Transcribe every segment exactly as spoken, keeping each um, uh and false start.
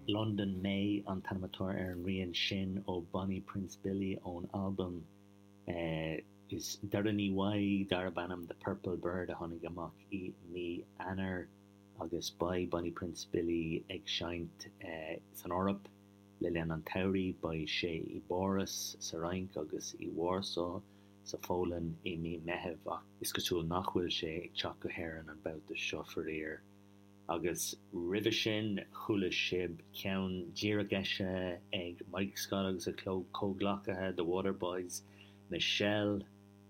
London May an t-ainm atá ar an rian sin ó Bonnie Prince Billy ón albam eh, is deireanaí uaidh darb ainm The Purple Bird a tháinig amach i mí Eanáir agus beidh Bonnie Prince Billy ag seinnt eh, san Eoraip le linn an tsamhraidh beidh sé i bPáras sa Fhrainc agus i Warsaw sa Pholainn i mí Mheithimh ach is cosúil nach bhfuil sé ag teacht go hÉirinn an babhta seo faraor. Agus roimhe sin chuala sibh ceann díreach eisithe ag Mike Scott agus a chomhghleacaithe The Waterboys, Michelle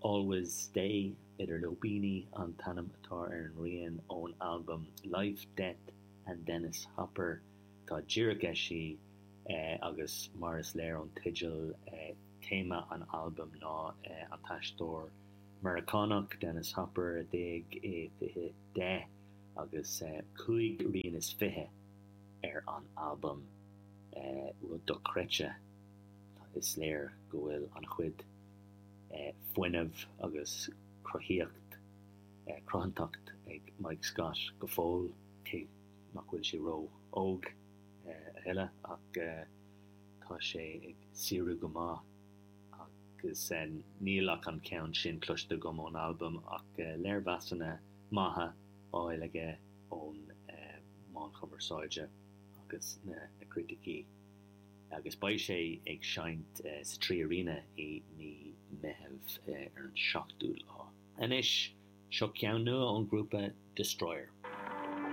Always Stay idir lúibíní an t-ainm atá ar an rian ón albam Life, Death and Dennis Hopper tá díreach eisithe eh, agus mar is léir ón teideal eh, téama an albaim ná eh, an t-aisteoir Meiriceánach Dennis Hopper a d'éag i fiche deich agus eh, cúig rian is fiche ar an albam eh, rud dochreidte is léir go bhfuil an-chuid eh, fuinnimh agus cruthaíocht eh, cruthaitheacht ag Mike Scott go fóill cé nach bhfuil sé ró-óg eh, a thuilleadh ach eh, tá sé ag saothrú go maith agus eh, níl ach an ceann sin cloiste agam ón albam ach eh, léirmheasanna maithe á fháil aige ón eh, meáin chumarsáide agus na, na criticí. agus beidh sé ag seinnt eh, sa Three Arena i mí Mheithimh eh, ar an seachtú lá. Anois seo ceann nua ón grúpa Destroyer.